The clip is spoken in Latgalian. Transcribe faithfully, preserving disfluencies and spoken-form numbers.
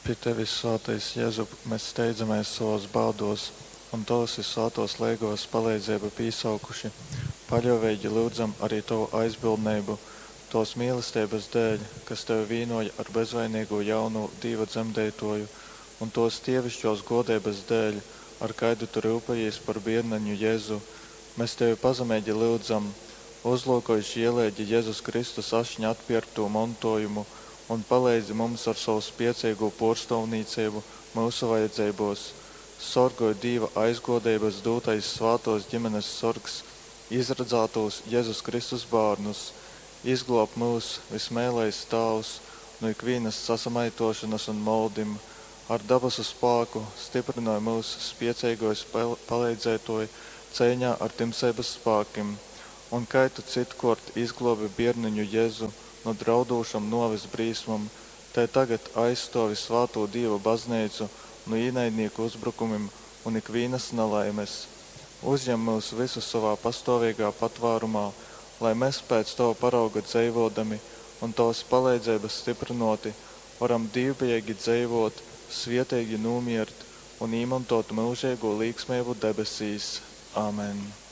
Pi tevis, svātais Jezup, mes steidzamēs sovōs bādōs un tovas vyssvātōs leigovas paleidzeibu pīsaukuši, paļōveigi lyudzam ari tovu aizbildneibu. Tōs mīlesteibas dēļ, kas tevi vīnōja ar bezvaineigū jaunovu, Dīva Dzemdeitōju, un tōs dieviškōs gōdeibas dēļ, ar kaidu tu ryupejīs par bierneņu Jezu, mes tevi pazemeigi lyudzam, uzlyukoj žieleigi Jezus Kristus ašņa atpierktū montōjumu un paleidzi mums ar sovu spieceigū pōrstōvnīceibu myusu vajadzeibōs. Sorgoj, Dīva aizgōdeibas dūtais svātōs ģimenes sorgs, izradzātūs Jezus Kristus bārnus. Izglōb myus, vysmeilais Tāvs, nu ikvīnas sasamaitōšonas un moldim, ar dabasu spāku styprynoj myus, spieceigais paleidzētōj, ceiņā ar tymseibas spākim. Un kai tu cytkōrt izglōbi bierneņu Jezu nu draudūšom nōves brīsmom, tai tagad aizstōvi svātū Dīva bazneicu nu īnaidnīku uzbrukumim un ikvīnas nalaimes. Uzjem myus vysus sovā pastōveigā patvārumā, lai mes pēc tova parauga dzeivōdami un tovas paleidzeibas styprynōti varam dīvbejeigi dzeivōt, svieteigi nūmiert un īmontōt myužeigū līksmeibu debesīs. Amen.